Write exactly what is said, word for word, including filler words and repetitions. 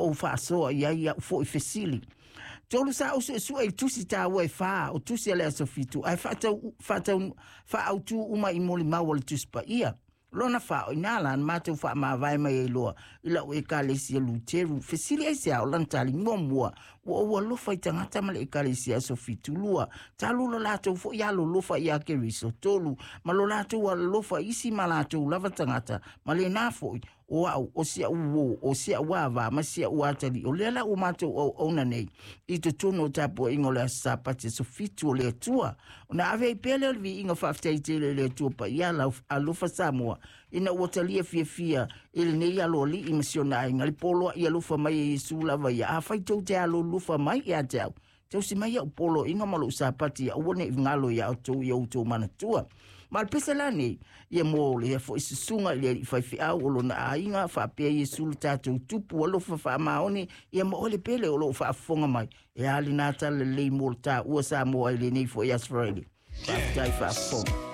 ou faasoa i ai a'u fo'i fesili. Tolu sa ou su'esu'e i tusi tāua e fā o tusi a le aso fitu ae faatau faatau faautū uma i molimau o le Tusi Paia. Lona fā, o iā la na matou faamavae mai ai loa i la'u Ekalesia Luteru. Fesili aisea? O lana tali: muamua, ua ou alofa i tagata ma le Ekalesia aso fitu. Lua, talu lo latou fo'i alolofa iā Keriso. Tolu, ma lo latou alofa isi ma latou lava tagata ma lenā fo'i o a'u, o si a'u uō, o si a'u avā ma si a'u atalii, o lea la ua matou auauna nei i totonu o tapua'iga o le aso Sapati aso fitu o le Atua. Ona ave ai pea lea o le viiga faafetai tele i le Atua paia alofa Samoa ina ua talia fiafia i lenei aloali'i ma si ona aiga le poloa'i alofa mai e Iesu lava ia. Afai tou te alolofa mai ia te au, tausi mai a'u poloaiga ma lo'u Sapati, aua ne'i galo iā outou ia outou manatua. Ma le pese la nei ia mo lea fo'i susuga i le ali'i faife'au o lona aiga faapea Iesu le tatou tupu alofa faamaoni ia ma oe le pele o lo'o faafofoga mai. E a lenā tala lelei mo le tāua Samoa i lenei fo'i Aso Faraile? Faafetai faafofoga.